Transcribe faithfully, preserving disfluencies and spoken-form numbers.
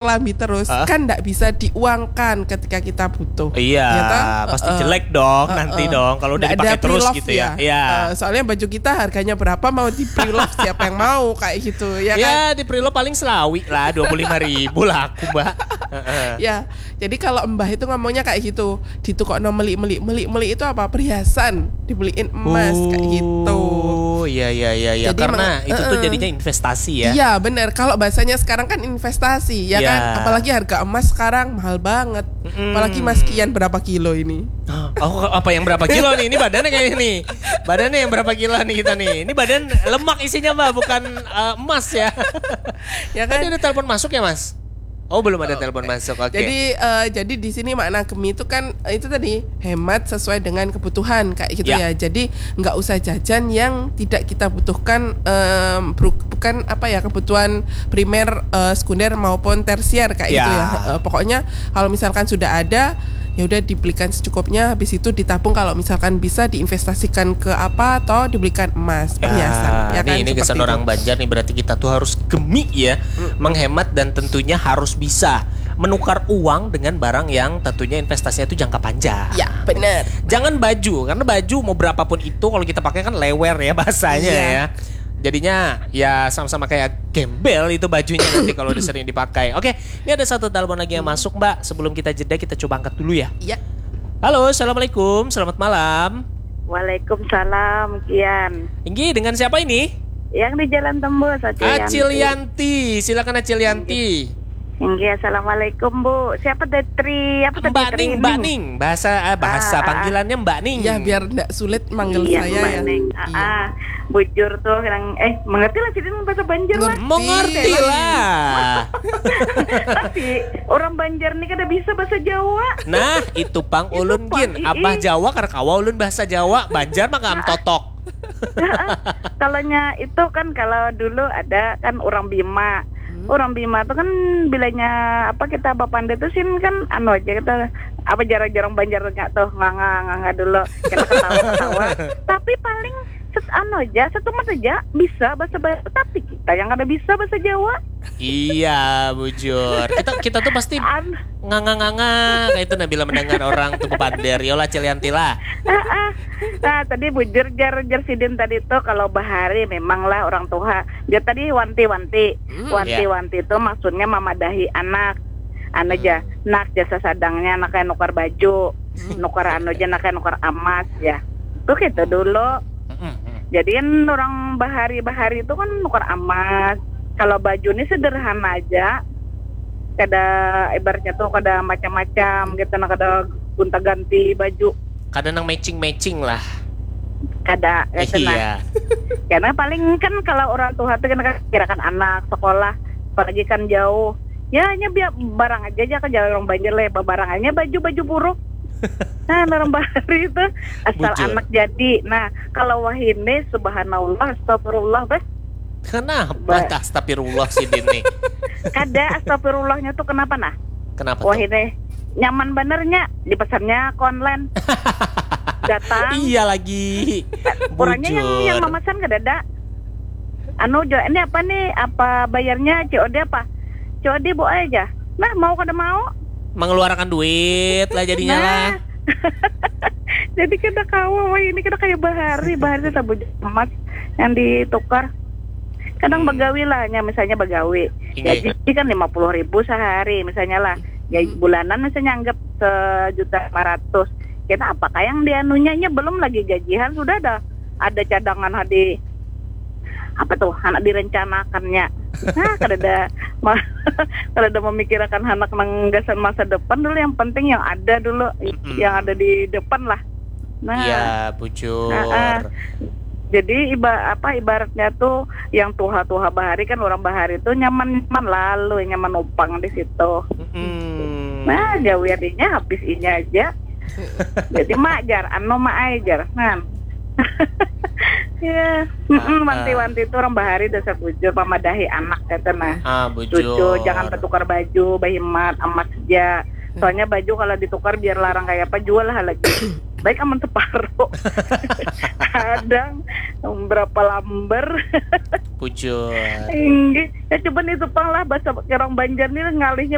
lambi terus Hah? kan ndak bisa diuangkan ketika kita butuh. Iya, Ya, toh? pasti Heeh. jelek dong nanti Heeh. dong kalau udah Ndak ada dipakai terus pre-love gitu ya. Iya. Eh, soalnya baju kita harganya berapa, mau di pre-love siapa yang mau kayak gitu ya kan? Ya, di pre-love paling selawi lah, dua puluh lima ribu lah aku, Mbak. Heeh. Ya, jadi kalau mbah itu ngomongnya kayak gitu, di toko no meli meli meli meli itu apa, perhiasan, dibeliin emas kayak gitu. Oh, iya, iya, iya, iya. Jadi Karena meng- itu tuh heeh. Jadinya investasi ya. Iya benar. Kalau bahasanya sekarang kan investasi, ya Iya. kan? Apalagi harga emas sekarang mahal banget. Mm-mm. Apalagi Mas Kian berapa kilo ini? Oh, apa yang berapa kilo nih? Ini badannya kayak ini. Badannya yang berapa kilo nih kita nih? Ini badan lemak isinya, Mbak, bukan eh, emas ya. Ya kan? Tadi ada telepon masuk ya, Mas? Oh, belum ada telepon masuk. Oke. Jadi eh, jadi di sini makna gemi itu kan eh, itu tadi hemat sesuai dengan kebutuhan kayak gitu Ya. ya. Jadi nggak usah jajan yang tidak kita butuhkan, em, bru- bukan apa ya, kebutuhan primer, eh, sekunder maupun tersier kayak gitu Ya. ya. Eh, pokoknya kalau misalkan sudah ada, ya udah dibelikan secukupnya, habis itu ditabung kalau misalkan bisa diinvestasikan ke apa atau dibelikan emas, perhiasan, ya Nah, kan? ini, ini kesan Seperti orang itu. Banjar nih, berarti kita tuh harus gemi ya, Hmm. menghemat dan tentunya harus bisa menukar uang dengan barang yang tentunya investasinya itu jangka panjang. Ya, benar. Jangan baju, karena baju mau berapapun itu kalau kita pakai kan lewer ya bahasanya Iya. Ya. Jadinya ya sama-sama kayak gembel itu bajunya nanti kalau udah sering dipakai. Oke, ini ada satu telepon lagi yang masuk, Mbak. Sebelum kita jeda, kita coba angkat dulu ya. Iya. Halo, assalamualaikum, selamat malam. Waalaikumsalam, Kian. Inggih, dengan siapa ini? Yang di Jalan Tembus, Acil Yanti. Acil Yanti, silakan Acil Yanti. Inggih, assalamualaikum, Bu. Siapa, Detri? Apa tadi, Mbak Tri Ning, ini? Mbak Ning, bahasa ah, bahasa Ah, ah, ah. Panggilannya Mbak Ning. Ya, biar ndak sulit manggil Iya, saya Mbak ya. Ning. Iya. Ah, ah. Bujur tuh, yang eh mengerti lah sih, bahasa Banjar lah. Ngerti. Mengerti lah. Tapi orang Banjar nih kada bisa bahasa Jawa. Nah, itu pang Itu ulun pang, gin. ii. Abah Jawa kada kawa ulun bahasa Jawa. Banjar mah kaam totok. Kalau nya itu kan, kalau dulu ada kan orang Bima. Hmm. Orang Bima tuh kan bilanya apa, kita bapanda tuh sin kan anu aja, kita apa, jarang-jarang Banjar nggak tuh, nganga-nganga dulu, kita ketawa-ketawa. Tapi paling set anu aja, setumat aja bisa bahasa Banjar, tapi kita yang kada bisa bahasa Jawa. Iya, bujur. Kita kita tuh pasti An nganga-nganga kayak itu, nah, bila mendengar orang tuh bepander. Yolah, Cil Yanti lah. Ah, ah. Nah, tadi bujur, jar, jar sidin tadi tuh, kalau bahari memanglah orang tuha. Jar tadi wanti-wanti. Hmm. Wanti-wanti itu maksudnya mamadahi anak. Anu aja, nak, jasa sadangnya anak kayak nukar baju, nukar anu aja, anak kayak nukar amas ya. Tuh gitu dulu. Mm-mm. Jadi kan orang bahari-bahari itu kan nukar amas. Kalau baju ini sederhana aja. Kada, ibaratnya tuh kada macam-macam gitu, nah, kada gonta-ganti baju. Kada nang matching-matching lah. Kada, gitu nah. Iya. Karena paling kan kalau orang tuha tuh kan kirakan anak sekolah, apalagi kan jauh. Ya, hanya biar barang aja, aja ke jalan orang Banjar lah, barang aja baju, baju buruk. Nah, orang bahari itu asal Bujur. Anak jadi. Nah, kalau wahini, subhanallah, astagfirullah, bes. Kenapa Ba- astagfirullah sidin nih? Kada, astagfirullahnya tuh kenapa nah? Kenapa tuh? Wahini nyaman benernya, dipesannya ke online. Datang. Iya lagi. Orangnya yang Bujur. yang memesan kada ada. Anu, jo, ini apa nih? Apa bayarnya C O D apa? C O D, Bu, aja. Nah, mau kada mau. Mengeluarkan duit lah jadinya lah. Nah. Jadi kada kawa, wah, ini kada kayak bahari, bahari sabujur emas yang ditukar. Kadang Hmm. bagawi lah, nya misalnya bagawi. Inggih. Gaji kan lima puluh ribu sehari misalnya lah. Ya, Hmm. bulanan misalnya anggap sejuta lima ratus. Kita apakah yang dianunya, nya belum lagi gajian, sudah ada ada cadangan hadi apa tuh, anak direncanakannya. Nah, kada ada ma- kada ada memikirkan anak nang gasan masa depan dulu, yang penting yang ada dulu, Mm-mm. yang ada di depan lah. Nah, Iya, bujur. Ah, ah. Jadi iba apa, ibaratnya tuh yang tuha-tuha bahari kan, orang bahari tuh nyaman-nyaman lalu, nyaman numpang di situ. Mm-mm. Nah, gawian inya habis inya aja. Jadi mak jar, anu mak ai jar. Nah. Ya, mm-mm, Ah, ah. Wanti-wanti itu orang bahari dasar bujur, mamadahi anak kata nah. Ah, bujur. Cucu jangan bertukar baju, bahimat, emas aja. Soalnya baju kalau ditukar biar larang kayak apa, jual lah lagi. baik aman separuh. Kadang berapa lamber. Bujur. Inggih. Ya coba nih tepang lah, bahasa orang Banjar nih ngalihnya